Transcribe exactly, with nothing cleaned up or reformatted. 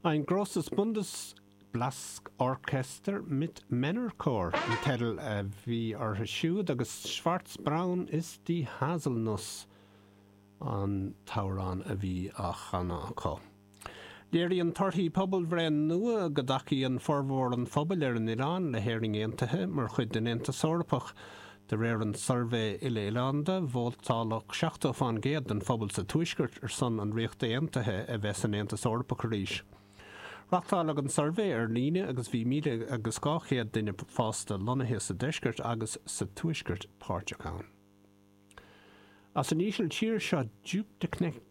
Ein großes Bundesblasorchester mit Männerchor an teideal a bhí orthu siúd agus Schwarzbraun ist die Haselnuss an t-amhrán a bhí á chanadh acu. Léiríonn torthaí pobalbhreith nua go dtacaíonn formhór an phobail ar an oileán le hÉirinn Aontaithe mar chuid den Aontas Eorpach de réir an suirbhé uile-oileánda vótáladh seachtó faoin gcéad den phobal sa Tuaisceart ar son an Ríocht Aontaithe a bheith san Aontas Eorpach arís. Reáchtáladh an suirbhé ar líne agus bhí míle agus dhá chéad duine fásta lonnaithe sa deisceart agus sa tuaisceart páirteach ann. As an Ísiltír seo Joop de Knegt